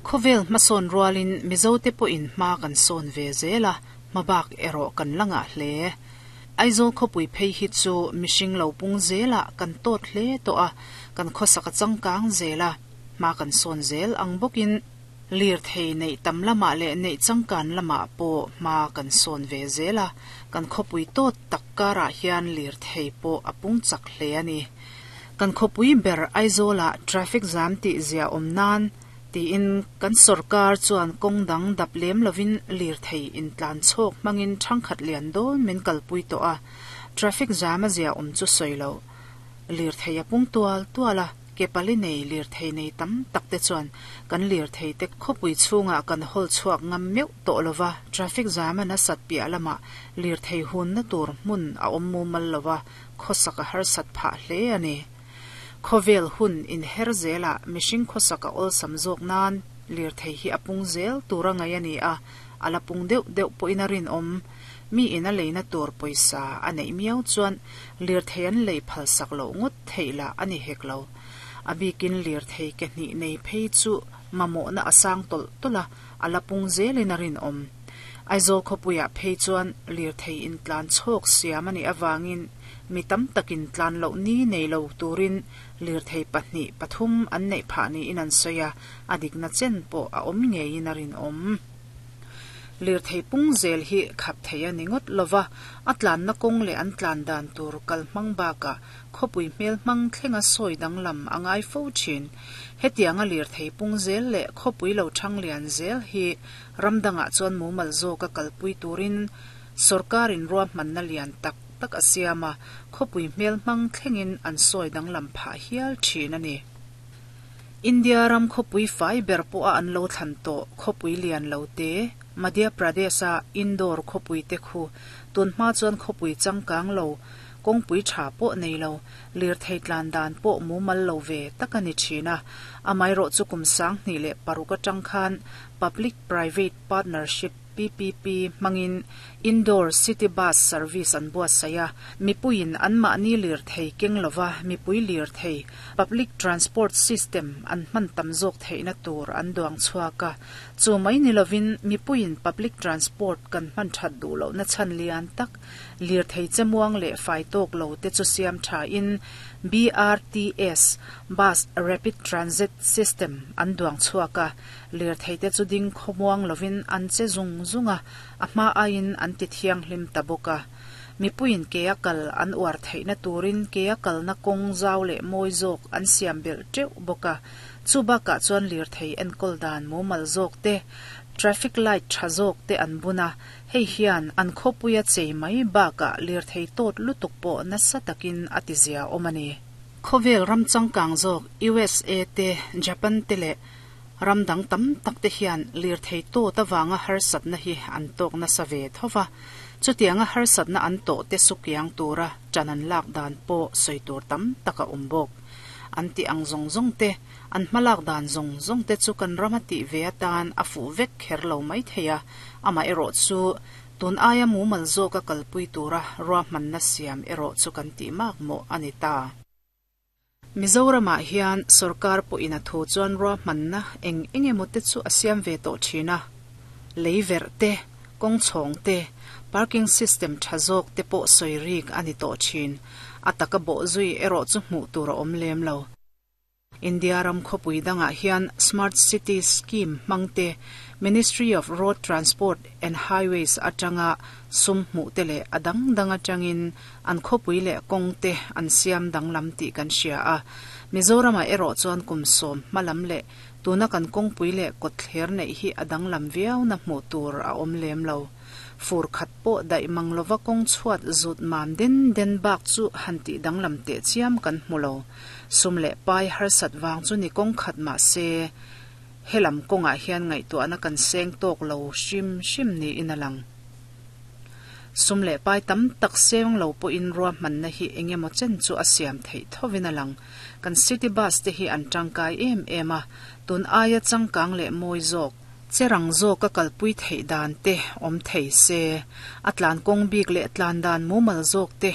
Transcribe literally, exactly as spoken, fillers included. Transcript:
Khawvel hmasawn rualin Mizote pawhin hma kan sawn ve zel a, hmabak erawh kan la ngah hle. Aizawl khawpui phei hi chu mihring lo pung zelah kan tawt hle tawh a, kan khawsak a changkang zel a, hma kan sawn zel ang bawkin lirthei neih tam lamah leh neih changkan lamah pawh hma kan sawn ve zel a, kan khawpui tawt tak karah hian lirthei pawh a pung chak hle a ni. Kan khawpui ber Aizawlah traffic jam tih zia awm nan tiin kan sorkar chuan kawng dang dap lem lovin lirthei intlan chhawk hmangin thangkhat lian dawn min kalpui tawh a, traffic jam a zia awm chu sawi lo. Lirthei a pung tual tual a, ke pali nei lirthei nei tam tak te chuan kan lirthei te khawpui chhungah kan hawl chhuak ngam meuh tawh lova, traffic jam a nasat piah lamah lirthei hunna tur hmun a awm mumal lova, khawsak a harsat phah hle a ni. Khawvel hun inher zelah mihring khawsak a awlsam zawk nan lirthei hi a pung zel tur a ngaih a ni a, a la pung deuh deuh pawhin a rinawm. Mi in a leina tur pawisa a neih miau chuan lirthei an lei phalsak loh ngawt theih lah a ni hek lo. A bikin lirthei ke hnih nei phei chu mamawhna a sang tawlh tawlh a, a la pung zelin a rinawm. Aizawl khawpuiah phei chuan lirthei intlan chhawk siam a nih avangin mi tam takin tlan loh ni nei lo turin lirthei pahnih pathum an neih phah niin an sawi a, a dikna chen pawh a awm ngeiin a rinawm. Lirthei pung zel hi khap thei a ni ngawt lova, a tlanna kawng leh an tlan dan tur kal hmang bakah khawpui hmel hmang thlenga sawi danglam a ngai fo thin. Hetianga lirthei pung zel leh khawpui lo thang lian zel hi ramdangah chuan mumal zawka kalpui turin sorkarin ruahmanna lian tak tak a siam a, khawpui hmel hmang thlengin an sawi danglam phah hial thin a ni. India ram khawpui fai ber pawh a an lo thlan tawh khawpui lian lo te, Madhya Pradesh-a Indore khawpui te khu tunhma chuan khawpui changkang lo, kawngpui tha pawh nei lo, lirthei tlan dan pawh mumal lo ve tak a ni thin a. Amaherawh chu kum sang hnih leh paruk atang khan Public Private Partnership P P P hmangin Indore City Bus Service an buatsaih a, mipuiin anmahni lirthei keng lova mipui lirthei Public Transport System an hman tam zawk theihna tur an duang chhuak a. Chu mai ni lovin mipuiin Public Transport kan hman that duh lohna chhan lian tak lirthei chemuang leh fai tawk lo te chu siam tha in B R T S Bus Rapid Transit System an duang chhuak a, lirthei te chu ding khawmuang lovin an che zung zung a, a hma aiin an ti thianghlim ta bawk a. Mipuiin ke a kal an uar theihna turin ke a kalna kawng zau leh mawi zawk an siam belh teuh bawk a. Chu bakah chuan lirthei enkawl dan mumal zawk te, traffic light tha zawk te an bun a, hei hian an khawpuia chei mai bakah lirthei tawt lutuk pawh nasa takin a ti zia awm a ni. Khawvel ram changkang zawk U S A te, Japan te leh ramdang tam tak te hian lirthei tawt awanga harsatna hi an tawk nasa ve thova. Chutianga harsatna an tawh te sukiang tura ṭan an lak dan pawh sawi tur tam tak a awm bawk. An ti ang zawng zawng te, an hmalak dan zawng zawng te chu kan ram a tih ve atan a fuh vek kher lo mai thei a, amaherawh chu tun aia mumal zawka kalpui tura ruahmanna siam erawh chu kan tih mak mawh a ni ta. Mizoramah hian sorkar pawhin a thu chuan ruahmanna eng eng emaw te chu a siam ve tawh thin a. Lei verh te, kawng chhawng te, parking system tha zawk te pawh sawi rik a ni tawh thin. A taka bawh zui erawh chu hmuh tur a awm lem lo. India ram khawpui dangah hian Smart City Scheme hmang te, Ministry of Road Transport and Highways atanga sum hmuh te leh a dang dang atangin an khawpui leh kawng te an siam danglam tih kan hria a. Mizoramah erawh chuan kum sawm hmalam leh tuna kan kawngpui leh kawtthler neih hi a danglam viau na hmuh tur a awm lem lo. Fur khat pawh daih mang lova kawng chhuat zut mam den den bak chu han tih danglam teh chiam kan hmu lo. Sum leh pai harsat wang chu ni kawng khat mah se helam kawngah hian ngaihtuahna kan seng tawk lo hrim hrim niin a lang. Sum leh pai tam tak seng lo pawhin ruahmanna hi engemaw chen chu a siam theih thovin a lang. Kan city bus te hi an tangkai em em a, tun aia changkang leh mawi zawk cherang zawk a kalpui theih dan te awm thei se, a tlan kawng bik leh tlan dan mumal zawk te